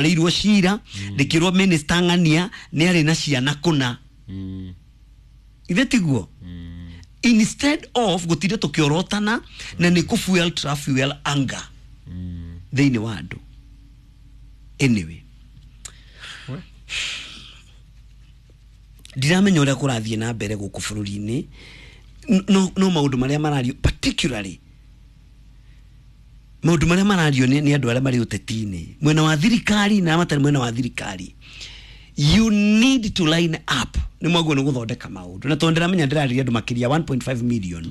Rĩirwo cira rĩkĩrwo minister ng'ania nĩ arĩ na ciana kũna. Ithe tiguo? Instead of gũtinda tũkĩorotana na nĩ kũ fuel fuel anger thĩinĩ wa andũ. Anyway, ndiramenya ũrĩa kũrathiĩ na mbere gũkũ bũrũri-inĩ, no maũndũ marĩa marario, particularly maũndũ marĩa marario nĩ andũ arĩa marĩ ũteti-inĩ, mwena wa thirikari na arĩa matarĩ mwena wa thirikari, you need to line up nĩ mwaguo nĩ gũthondeka maũndũ. Na tondũ ndĩramenya ndĩrarĩria andũ makĩria 1.5 million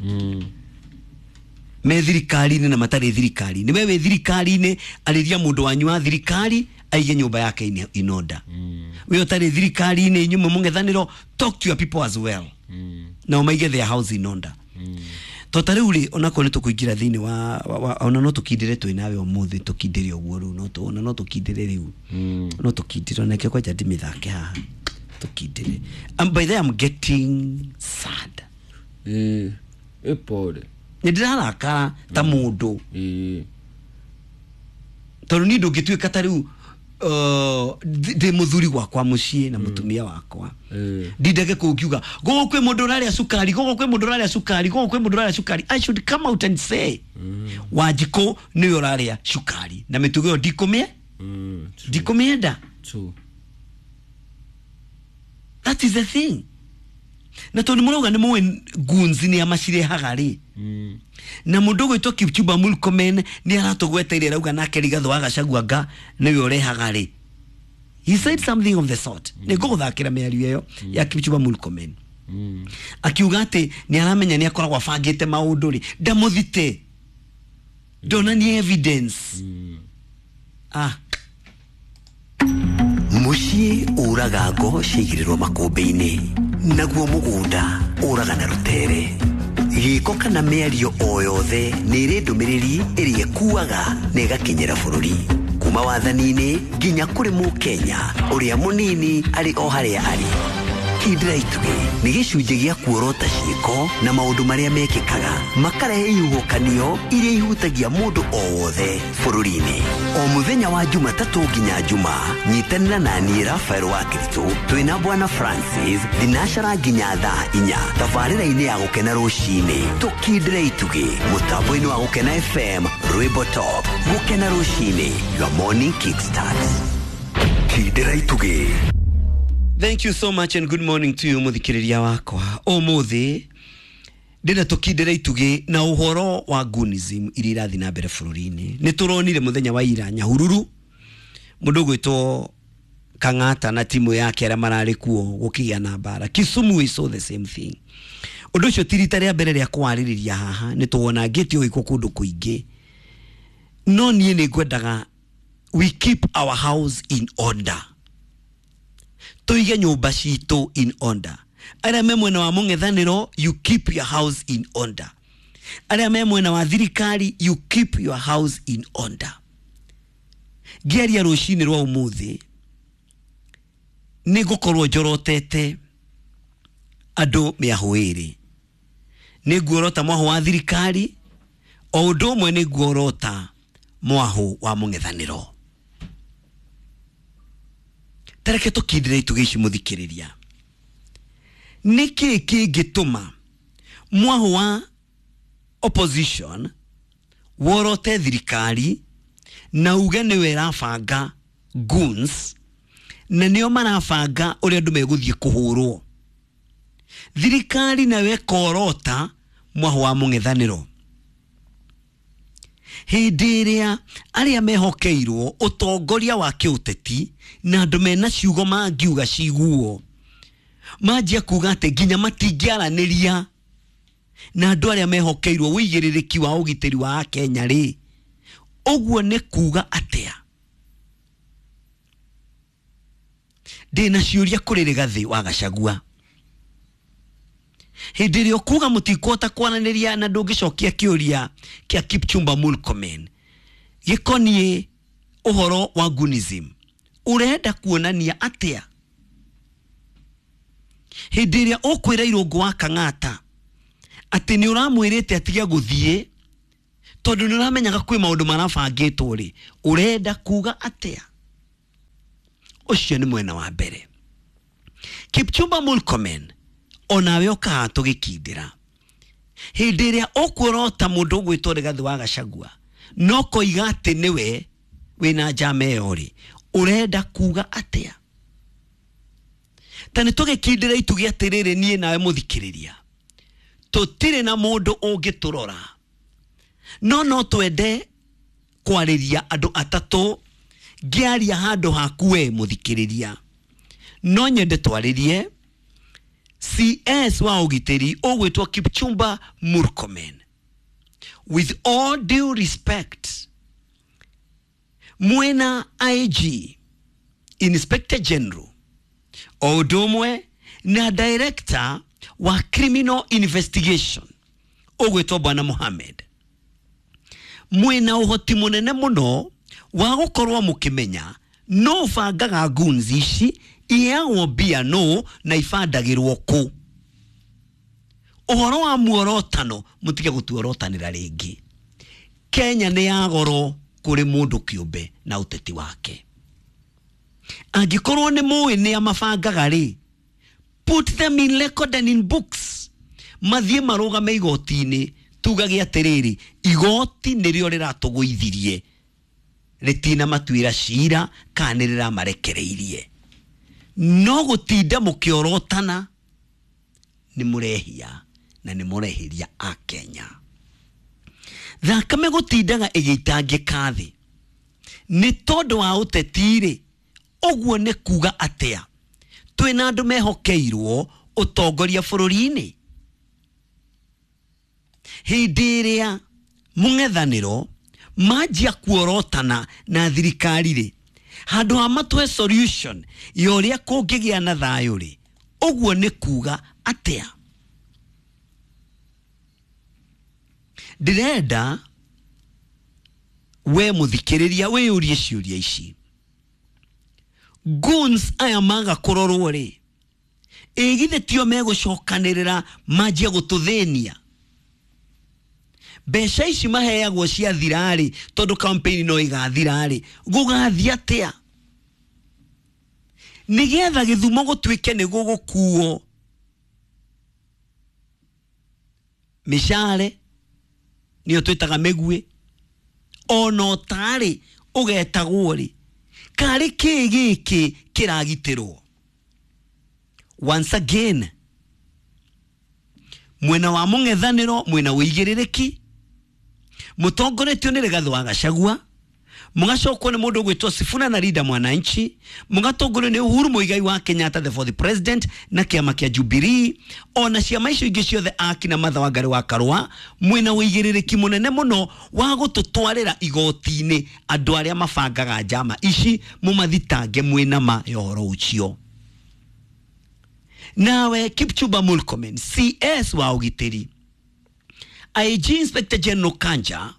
me thirikari-inĩ na matarĩ thirikari-inĩ. We wĩ thirikari-inĩ, arĩria mũndũ wanyu wa thirikari aige nyũmba yake in order. We ũtarĩ thirikari-inĩ, inyuĩ mwĩ mũng'ethanĩro, talk to your people as well, nao maige their house in order. To ta rĩu rĩ, onakorwo nĩ tũkũingĩra thĩinĩ wa ona no tũkindĩre twĩ nawe ũmũthĩ, tũkindĩre ũguo rĩu, no ona no tũkindĩre rĩu, no tũkindĩre onake kwanja ndimĩthake haha tũkindĩre. By the way, I'm getting sad. Ĩĩ, ĩ pole. Nĩ ndĩrarakara ta mũndũ, tondũ niĩ ndũngĩtuĩka ta rĩu ndĩ mũthuri gwakwa mũciĩ na mũtumia wakwa, ndindage kũu ngiuga gũkũ kwĩ mũndũ ũrarĩa cukari, gũkũ kwĩ mũndũ ũrarĩa cukari, gũkũ kwĩ mũndũ ũrarĩa cukari. I should come out and say Wanjikũ nĩwe ũrarĩa cukari na mĩtugo ĩyo ndikũmĩe ndikũmĩenda. True. That is the thing. Na tondũ mũrauga nĩ mũĩ goons nĩ amacirehaga rĩ, na mũndũ ũgwĩtwo Kipchumba Murkomen nĩ aratũgweteire, arauga nake Rigathĩ wa Gachagua nga nĩwe ũrehaga rĩ. He said something of the sort. Nĩ ngũgũthakĩra mĩario ĩyo ya Kipchumba Murkomen, akiuga atĩ nĩ aramenya nĩ akoragwo abangĩte maũndũ rĩ, ndamũthite, ndonanie evidence. Ah. Mũciĩ ũraga ngo ciaigĩrĩrwo makũmbĩ-inĩ, naguo mũgũnda ũraga na rũtere. Gĩko kana mĩario o yothe nĩ ĩrĩ ndũmĩrĩri ĩrĩa ĩkuaga na ĩgakinyĩra bũrũri, kuma wathani-inĩ nginya kũrĩ mũkenya ũrĩa mũnini arĩ o harĩa arĩ. Kindĩra itugĩ nĩ gĩcunjĩ gĩa kuorota ciĩko na maũndũ marĩa mekĩkaga makarehe ihuhũkanio iria ihutagia mũndũ o wothe bũrũri-inĩ. O mũthenya wa Jumatatũ nginya Juma, nyitanĩra na niĩ Rafael wa Kiritũ twĩna Bwana Francis thinacara nginya thaa 4, tabarĩra-inĩ ya Gũkena Rũcinĩ, tũkindĩre itugĩ mũtambo-inĩ wa Gũkena FM, rwĩmbo top. Gũkena Rũcinĩ, your morning kickstart. Kindĩra itugĩ. Thank you so much and good morning to you, muthikiriria wakwa. Ũmũthĩ ndĩna tũkindĩre itugĩ na ũhoro wa goonism iria irathiĩ na mbere bũrũri-inĩ. Nĩ tũronire mũthenya wa ira Nyahururu mũndũ ũgwĩtwo Kang'ata na timu yake arĩa mararĩ kuo gũkĩgĩa na mbara. Kisumu we saw the same thing. Ũndũ ũcio ti rita rĩa mbere rĩa kũwarĩrĩria haha, nĩ tũwonangĩte ũgĩkwo kũndũ kũingĩ, no niĩ nĩ ngwendaga we keep our house in order, tuige nyũmba citũ in order. Arĩa me mwena wa mũng'ethanĩro, you keep your house in order. Arĩa me mwena wa thirikari, you keep your house in order. Ngĩaria rũcinĩ rwa ũmũthĩ nĩ ngũkorwo njorotete andũ mĩahũ ĩrĩ. Nĩ nguorota mwahũ wa thirikari, o ũndũ ũmwe nĩ nguorota mwahũ wa mũng'ethanĩro. Tareke tũkindĩre itugĩ ici, mũthikĩrĩria. Nĩkĩ kĩngĩtũma mwahũ wa opposition worote thirikari na uge nĩwe ĩrabanga goons na nĩo marabanga ũrĩa andũ megũthiĩ kũhũrwo, thirikari nayo ĩkorota mwahũ wa mũng'ethanĩro, hĩndĩ ĩrĩa arĩa mehokeirwo ũtongoria wa kĩũteti na andũ mena ciugo mangiuga ciguo manjia kuga atĩ nginya matingĩaranĩria na andũ arĩa mehokeirwo ũigĩrĩrĩki wa ũgitĩri wa Akenya rĩ, ũguo nĩ kuga atĩa? Ndĩna ciũria kũrĩ Rigathĩ wa Gachagua. Hĩndĩ ĩrĩa ũkuga mũtikũhota kwaranĩria na ndũngĩcokia kĩũria kĩa Kipchumba Murkomen gĩkoniĩ ũhoro wa goonism, ũrenda kuonania atĩa? Hĩndĩ ĩrĩa ũkwĩra Irũngũ wa Kang'ata atĩ nĩ ũramwĩrĩte atige gũthiĩ tondũ nĩ ũramenyaga kwĩ maũndũ marabangĩtwo rĩ, ũrenda kuga atĩa? Ũcio nĩ mwena wa mbere. Kipchumba Murkomen, onawe ũkaha tũgĩkindĩra hĩndĩ ĩrĩa ũkuorota mũndũ ũgwĩtwo Rigathĩ wa Gachagua no koiga atĩ nĩwe wĩna njama ĩyo rĩ, ũrenda kuga atĩa? Ta nĩ tũgĩkindĩra itugĩ atĩrĩrĩ, niĩ nawe mũthikĩrĩria, tũtirĩ na mũndũ ũngĩtũrora, no no twende kwarĩria andũ atatũ. Ngĩaria handũ haku we mũthikĩrĩria, no nyende twarĩrie CS wa ũgitĩri ũgwĩtwo Kipchumba Murkomen. With all due respect, mwena IG, Inspector General, o ũndũ ũmwe na Director wa Criminal Investigation ũgwĩtwo Bwana Mohamed, mwĩna ũhoti mũnene mũno wa gũkorwo mũkĩmenya no bangaga goons ici, iheagwo mbia no na ibandagĩrwo kũ. Ũhoro wa muorotano mũtige gũtuorotanĩra rĩngĩ. Kenya nĩ ya goro kũrĩ mũndũ kĩũmbe na ũteti wake. Angĩkorwo nĩ mũĩ nĩ amabangaga rĩ, put them in record and in books, mathiĩ marũgame igoti-inĩ, tugage atĩrĩrĩ, igoti nĩrĩo rĩratũgũithirie, rĩtina matuĩra cira kana nĩ rĩramarekereirie. No gũtinda mũkĩorotana nĩ mũrehia na nĩ mũrehĩria a Kenya. Thakame gũtindaga ĩgĩitangĩka thĩ nĩ tondũ wa ũteti rĩ, ũguo nĩ kuga atĩa? Twĩna andũ mehokeirwo ũtongoria bũrũri-inĩ. Hĩndĩ ĩrĩa mũng'ethanĩro manjia kuorotana na thirikari rĩ, handũ ha matũhe solution ya ũrĩa kũngĩgĩa na thayũ rĩ, ũguo nĩ kuga atĩa? Ndĩrenda we mũthikĩrĩria wĩyũrie ciũria ici. Goons aya maga kũrorwo rĩ, ĩ githĩ tio megũcokanĩrĩra manjie gũtũthĩnia? Mbeca ici maheagwo ciathira rĩ, tondũ campaign no ĩgathira rĩ, gũgathiĩ atĩa? Nĩgetha gĩthumo gũtuĩke nĩ gũgũkuo mĩcare nĩyo twĩtaga mĩguĩ, ona ũtarĩ ũgetagwo rĩ, karĩ kĩ gĩkĩ kĩragitĩrwo? Once again, mwena wa mũng'ethanĩro mwena ũigĩrĩrĩki mũtongoretio nĩ Rigathĩ wa Gachagua, mũgacokwo nĩ mũndũ ũgwĩtwo Sifuna na Linda Mwananchi, mũgatongorio nĩ Uhuru Muigai wa Kenyatta the fourth president na kĩama kĩa Jubilee, ona ciama icio ingĩ ciothe akina Martha Wangari wa Karua, mwena ũigĩrĩrĩki mũnene mũno wa gũtũtwarĩra igoti-inĩ andũ arĩa mabangaga njama ici, mũmathitange mwĩna ma ya ũhoro ũcio. Nawe Kipchumba Murkomen, CS wa ũgitĩri, IG Inspector General Kanja,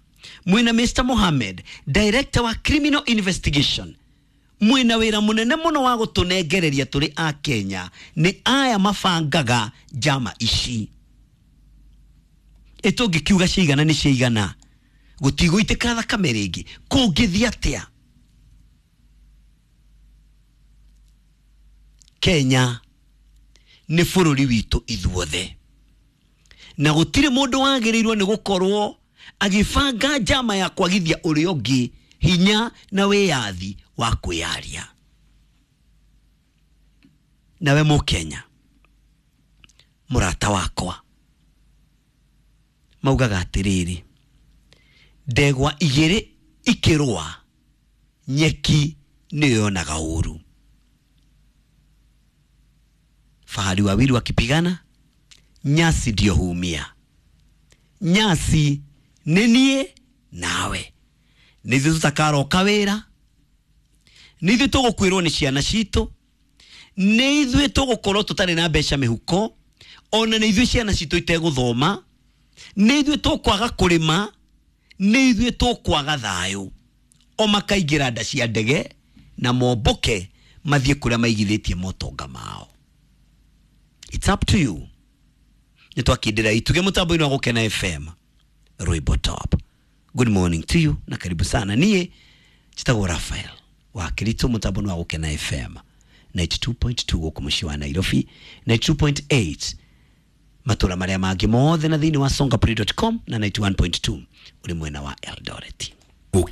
mwina Mr. Mohamed, Director wa Criminal Investigation, mwina wĩra mũnene mũno wa gũtũnengereria tũrĩ a Kenya nĩ aya mabangaga njama ici. Ĩtũngĩkiuga ciigana nĩ ciigana, gũtigũitĩka thakame rĩngĩ, kũngĩthiĩ atĩa? Kenya nĩ bũrũri witũ ithuothe, na gũtirĩ mũndũ wagĩrĩirwo nĩ gũkorwo agĩbanga njama ya kwagithia ũrĩa ũngĩ hinya na wĩyathi wa kwĩyaria. Nawe Mũkenya mũrata wakwa, maugaga atĩrĩrĩ, ndegwa igĩrĩ ikĩrũa nyeki nĩyo yonaga ũru. Fahari wawili wakipigana nyasi ndio huumia. Nyasi nĩ niĩ nawe, nĩ ithuĩ tũtakaroka wĩra, nĩ ithuĩ tũgũkuĩrwo nĩ ciana citũ, nĩ ithuĩ tũgũkorwo tũtarĩ na mbeca mĩhuko, ona nĩ ithuĩ ciana citũ itegũthoma, nĩ ithuĩ tũkwaga kũrĩma, nĩ ithuĩ tũkwaga thayũ. O makaingĩra nda cia ndege na mombũke mathiĩ kũrĩa maigithĩtie motonga mao. It's up to you. Nĩ twakindĩra ituge mũtambo-inĩ wa Gũkena FM, Rwĩmbo Top. Good morning to you na karibu sana. Niĩ njĩtagwo Raphael wa Kirito, mũtambo-inĩ wa Gũkena FM. 92.2 gũkũ mũciĩ wa Nairobi, 92.8 matũra marĩa mangĩ mothe na thĩinĩ wa songaplay.com na 91.2 ũrĩ mwena wa Eldoret. Gũkena.